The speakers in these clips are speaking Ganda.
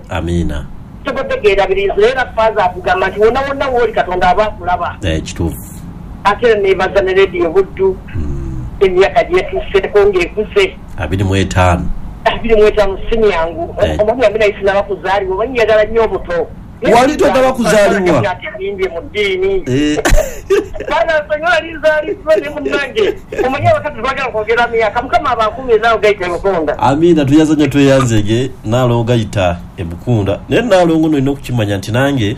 Amiina. Tukutegeera biriizo era faaza akugamba nti wonna wonna wooli Katonda aba akulaba. Kituufu. Ate era neebaza ne Rediyo Buddu emyaka gyetuuseeko ng'ekuze. 25. 25 si myangu. Omwami wange naye sinaba kuzaalibwa oba njagala nnyo obuto. Wali tonnaba kuzaalibwa? Nyimbye mu ddiini. Baana nsonyiwa nali nzaaliddwa ne munnange. Omanyi abakazi twagala kwogera myaka. Mukama abakuume naawe gayita e Bukunda. Amiina tweyanza nnyo tweyanzege Nnaalongo Gayita e Bukunda. Naye Nnaalongo nno olina okukimanya nti nange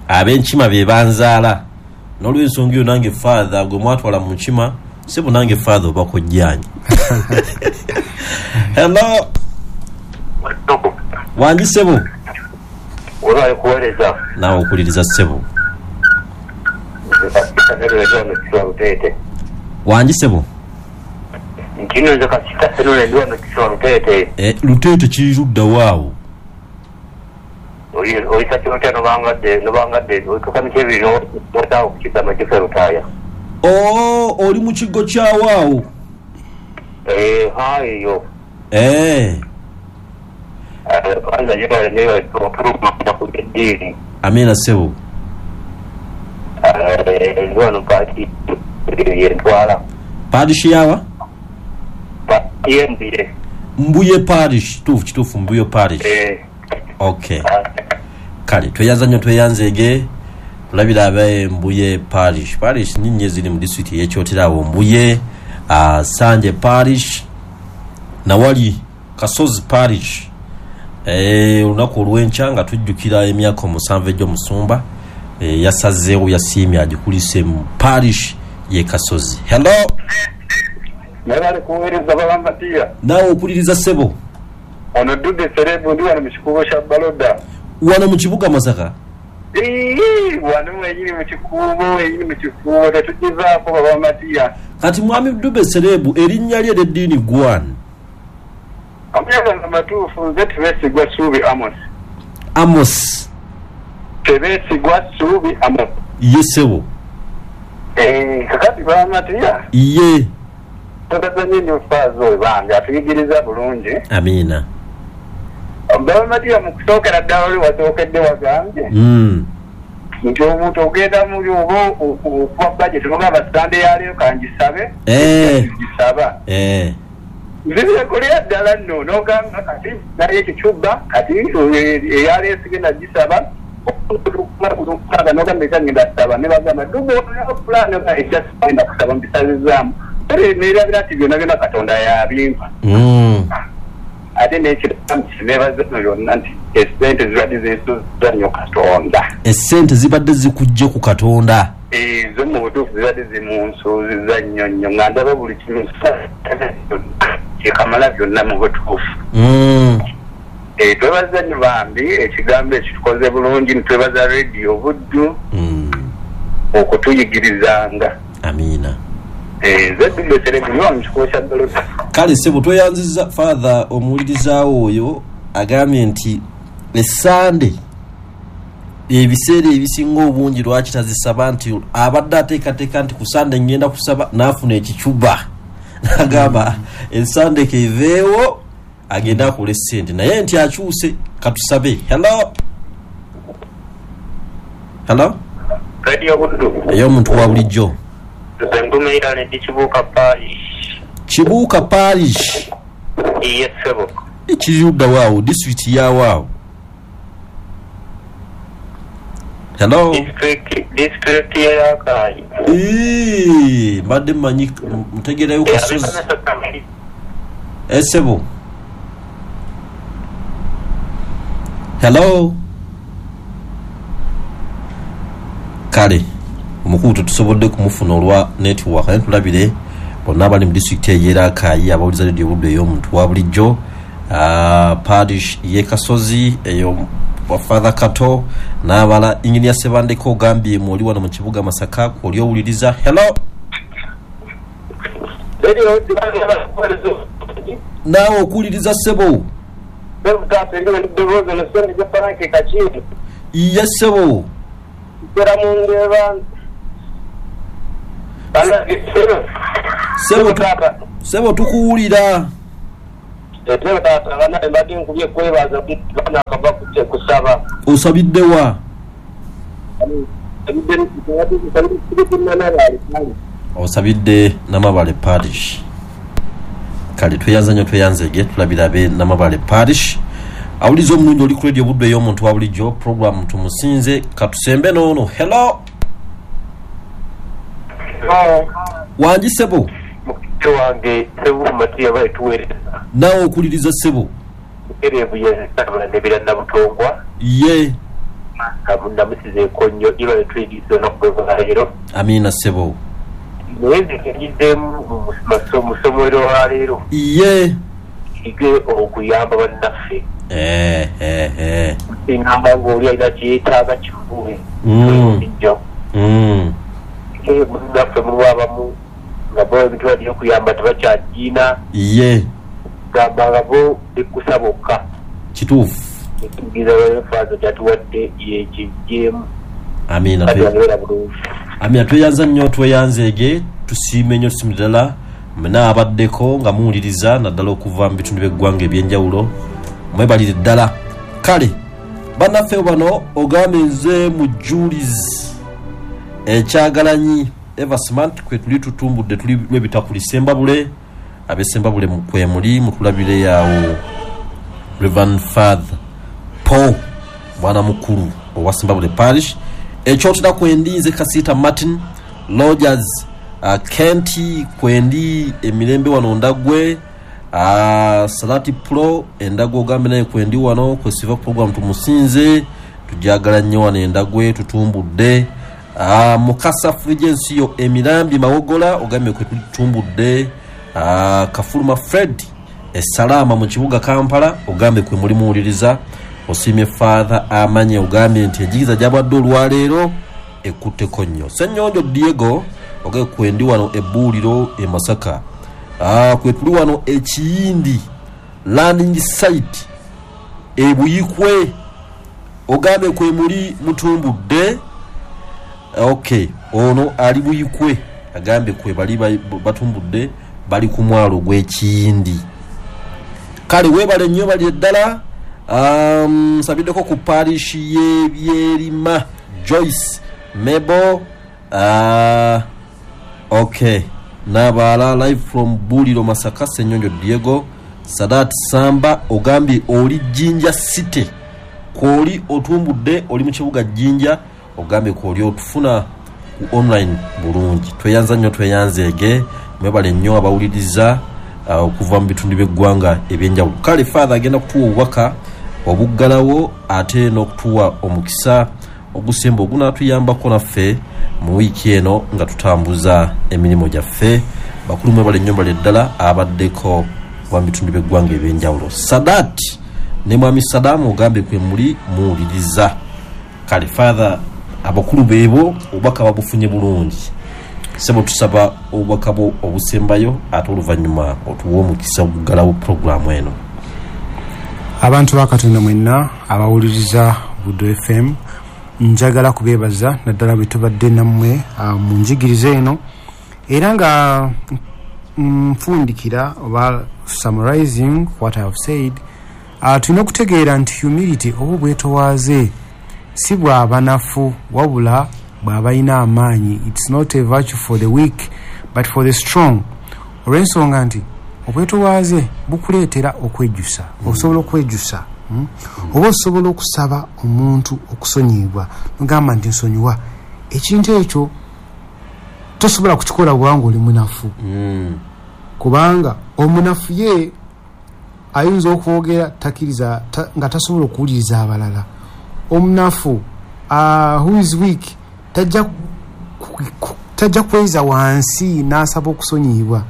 ab'enkima be banzaala. N'olwensonga eyo nange Father gwe mwatwala mu nkima ssebo nange Father oba kojjange. Hello. Wangi ssebo. Webale kuwereza. Naawe okuliriza ssebo. Nze Kasita Henry ndi wano Kiswa Luteete. Wangi ssebo. Ntino nze Kasita Henry ndi wano Kiswa Luteete. Eh, Luteete kiri ludda wa awo? Oyisa kyotya nobangadde nobangadde otuuka miti ebiri notaawo ku kidda Majufe Lutaaya. Oh, oli mu kigo kya wa awo? Eh, ha eyo. Eh. Kwanza yebale nyo okuluma ku by'eddiini. Amiina ssebo. Ndi wano paati yentwala. Parish yawa? Paati y'e Mbuye. Mbuye Parish, kituufu kituufu Mbuye Parish. Eh. Okay. Kale tweyanza nnyo tweyanzeege tulabire abe Mbuye Parish. Parish nyingi eziri mu disitulikiti ey'e Kyotera awo Mbuye, Sanje Parish, nawali Kasozi Parish. Olunaku olw'enkya nga tujjukira emyaka omusanvu egy'omusumba yasazeewo yasiimye agikulise mu parish y'e Kasozi. Hello. Mwebale kuweereza Baba Matia. Naawe okuliriza ssebo. Ono Dube Serebu ndi wano mu kikuubo kya Baloda. Wano mu kibuga Masaka? Iiii wano wenyini mu kikuubo wenyini mu kikuubo tetugivaako Baba Matia. Kati Mwami Dube Serebu erinnya lyo ery'eddiini ggwe ani? Amannya gange amatuufu nze Tebeesigwa Ssuubi Amos. Amos. Tebeesigwa Ssuubi Amos. Ye ssebo. Eeh kakati Baba Matia. Ye. Twebaza nnyo nnyo Faaza oyo bambi atuyigiriza bulungi. Amiina. Baba Matia mu kusookera ddala oli wasookedde wagambye nti omuntu ogenda muli oba okuba budget nogamba Sunday ya leero kangisabe gisaba. Nze byenkolera ddala nno nogamba kati naye ekicuba kati eya leero sigenda gisaba nogamba ekya ngenda kusaba nebagamba duba olina plan ekya sigenda kusaba mbisazizaamu. Kale nerabira nti byona byona Katonda yabimpa. Ate nekirala nebaza byonna nti esente zibadde zinsuza nnyo Katonda. Esente zibadde zikujje ku Katonda. Ezo mu butuufu zibadde zimunsuuziza nnyo nnyo nga ndaba buli kimu kyekamala byonna mu butuufu. Twebaza nnyo bambi ekigambo ekyo kitukoze bulungi nitwebaza Radio Buddu okutuyigirizanga. Amiina. Nze Dube Serebu ndi wano mu kikuubo kya Doloda. Kale ssebo tweyanzizza Father omuwulirizaawo oyo agambye nti essande ebiseera ebisinga obungi lwaki tazisaba nti abadde ateekateeka nti ku Sande ngenda kusaba n'afuna ekicuba n'agamba essande keveewo agende akole ssente naye nti akyuse katusabe. Hello. Hello. Radio Buddu. Ey'omuntu wa bulijjo. Nze Ndumeirale ndi Kibuuka Parish. Kibuuka Parish. Iye ssebo. Kiri ludda wa awo? Disitulikiti ya wa awo? Hello. Disitulikiti ye Rakai. Eeh, mbadde mmanyi ntegeerayo Kasozi. Eh ssebo. Hello. Kale omukulu tetusobodde kumufuna olwa network naye tulabire bonna abali mu disitulikiti eyo Rakai abawuliza Radio Buddu ey'omuntu wa bulijjo parish y'e Kasozi eyo wa Father Kato n'abala. Engineer Ssebandeke ogambye mu oli wano mu kibuga Masaka kw'oli owuliriza. Hello. Naawe okuwuliriza ssebo. Iye ssebo. Ssebo tukuwulira. Etero taata bana mbadde nkubye kwebaza bana akava kusaba. Osabidde wa? Osabidde Namabale Parish. Kale tweyanza nnyo tweyanzege tulabira abe Namabale Parish. Awuliza omulungi oli ku Radio Buddu ey'omuntu wa bulijjo program tumusinze katusembe noono. Hello. Wangi ssebo. Mukite wange Ssebuufu Matiya baituweereza. Naawe okuliriza ssebo. Erevu yensabula nebira Nabutongwa. Ye. Namusizeeko nnyo ira netuyigiriza olunaku lwaleero. Amiina ssebo. Naye nze ngizeemu mu ssomero lwaleero. Ye. Ige okuyamba bannaffe. Ngamba ng'oli alina kyeyeetaaga kifuwe. Munnaffe mulimu abamu nga bo ebintu balina okuyamba tebakyagiina. Ye. Gamba nga bo bikkusa bokka. Kituufu. Ekigiriza lw'enfaazo gyatuwadde yekiggyemu. Amiina. Amiina tweyanza nnyo tweyanzeege tusiime nnyo tusiime ddala mwenna abaddeko nga muwuliriza naddala okuva mu bitundu by'eggwanga eby'enjawulo mwebalire ddala. Kale bannaffe bano ogambye nze mu Julius Ekyagalanyi Eversmart kwe tuli tutumbudde tuli lw'ebitakuli Sembabule ab'Sembabule kwe muli mutulabire yawo Reverend Father Paul mwana mukulu owa Sembabule Parish. Ekyotera kwendi nze Kasita Martin Rogers Kenti kwendi emirembe wano Ndagwe Salati Pro Endagwe ogambe naye kwendi wano kwesiva program tumusinze tujagala nnyo wano Endagwe tutumbudde. Mukasa Fulgencio emirambi Mawogola ogambe kwe tutumbudde. Kafuluma Fred Esalama mu kibuga Kampala ogambe kwe muli muwuliriza. Osiimye Father amanye ogambye nti enjigiriza gy'abadde olwaleero ekutteko nnyo. Ssennyonjo Diego ogambe kwendi wano ebbuuliro e Masaka. Kwe tuli wano Ekiyindi landing site e Buyikwe ogambe kwe muli mutumbudde. Okay, ono ali Buyikwe agambe kwe bali batumbudde bali ku mwalo gw'Ekiyindi. Kale weebale nnyo bali ddala. Nsabiddeko ku parish y'Ebyerima Joyce Mebo. Okay, Nabaala live from Buliro Masaka Ssenyonjo Diego Sadat Samba ogambye oli Jinja City kwoli otumbudde oli mu kibuga Jinja ogambye kwoli otufuna ku online bulungi. Tweyanza nnyo tweyanzeege mwebale nnyo abawuliriza okuva mu bitundu by'eggwanga ebyenjawulo. Kale Father agenda kutuwa obubaka obuggalawo ate n'okutuwa omukisa ogusemba ogunaatuyambako naffe mu wiiki eno nga tutambuza emirimu gyaffe. Bakulu mwebale nnyo mbale ddala abaddeko okuva mu bitundu by'eggwanga ebyenjawulo. Sadat ne mwami Sadamu ogambye kwe muli muwuliriza. Kale Father abakulu beebo obubaka babufunye bulungi. Sebo tusaba obubaka bwo obusembayo ate oluvannyuma otuwe omukisa oguggalawo puroguramu eno. Abantu ba Katonda mwenna abawuliriza Buddu FM njagala kubeebaza naddala bwe tubadde nammwe mu njigiriza eno era nga nfundikira oba summarizing what I have said. Tulina okutegeera nti humility oba obwetowaaze si bw'abanafu wabula bw'abalina amaanyi. It's not a virtue for the weak but for the strong. Olw'ensonga nti obwetowaaze bukuleetera okwejjusa. Osobola okwejjusa oba osobola okusaba omuntu okusonyiyibwa nogamba nti nsonyiwa. Ekintu ekyo tosobola kukikola bwanga oli munafu. Kubanga omunafu ye ayinza okwogera takiriza nga tasobola okuwuliriza abalala. Omunafu who is weak tajja kweza wansi n'asaba okusonyiyibwa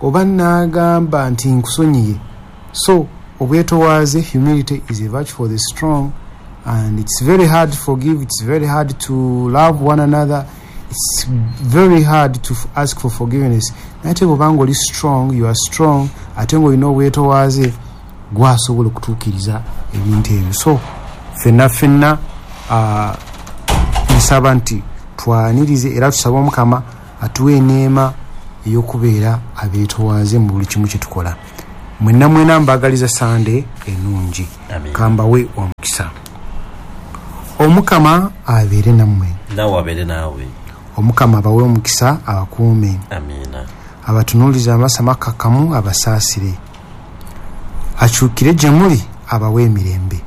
oba n'agamba nti nkusonyiye. So obwetowaaze, humility is a virtue for the strong, and it's very hard to forgive, it's very hard to love one another, it's very hard to ask for forgiveness. Naye ate bw'obanga oli strong, you are strong, ate ng'olina obwetowaaze gwasobola okutuukiriza ebintu ebyo. So ffenna ffenna nsaba nti twanirize era tusabe Omukama atuwe eneema ey'okubeera abeetowaaze mu buli kimu kye tukola. Mwenna mwena mbagaliza Sande ennungi. Kambawe omukisa. Omukama abeere nammwe. Nawe abeere naawe. Omukama abawe omukisa abakuume. Amiina. Abatunuulize amaaso amakakkamu abasaasire. Akyukire gye muli abawe emirembe.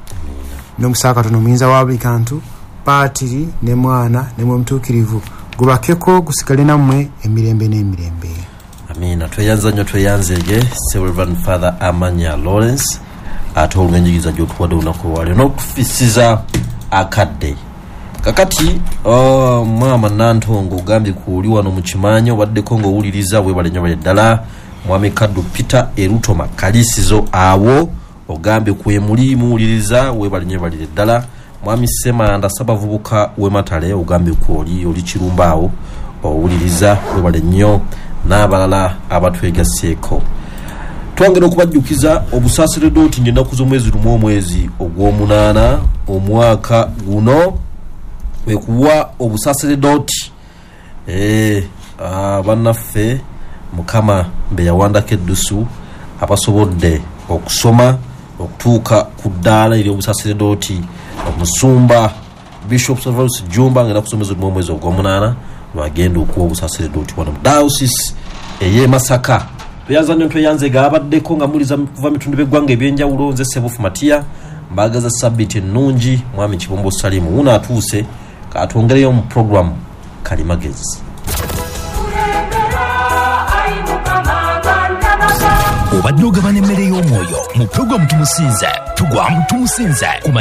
N'omukisa wa Katonda omuyinza wa buli kantu, Paatiri ne Mwana ne Mwoyo Mutuukirivu gubakeko gusigale nammwe emirembe n'emirembe. Amiina. Tweyanza nnyo tweyanzeege Reverend Father Amanya Lawrence ate olw'enjigiriza gy'otuwadde olunaku olwaleero n'okufisiza akadde. Kakati maama Nantongo ogambye ku oli wano mu kimanyi obaddeko ng'owuliriza, weebale nnyo bale ddala. Mwami Kaddu Peter Erutoma Kalisizo awo ogambye kwemuli muwuliriza, weebale nnyo balire ddala. Mwami Ssemanda Ssabavubuka w'Ematale ogambye ku oli Kirumba awo owuliriza, weebale nnyo n'abalala abatwegasseeko. Twongera okubajjukiza obusaseredooti ng'ennaku z'omwezi 1 omwezi ogw'omunaana omwaka guno kwekuwa obusaseredooti bannaffe Mukama be yawandako eddusu abasobodde okusoma okutuuka ku ddaala ery'obusaseredooti. Omusumba Bishop Servus Jumba ng'ennaku z'omwezi 1 omwezi ogw'omunaana lwagenda okuwa obusaseredooti wano mu diocese ey'e Masaka. Tweyanza nnyo tweyanzega abaddeko nga muliza kuva mitundu by'eggwanga ebyenjawulo. Nze Sebufu Matiya mbagaza sabbiiti ennungi. Mwami Kibombo Salimu wuno atuuse katwongereyo mu programu Kalimagezi. Obadde ogabana emmere y'omwoyo mu pulogulaamu Tumusinze. Tugwa mu Tumusinze ku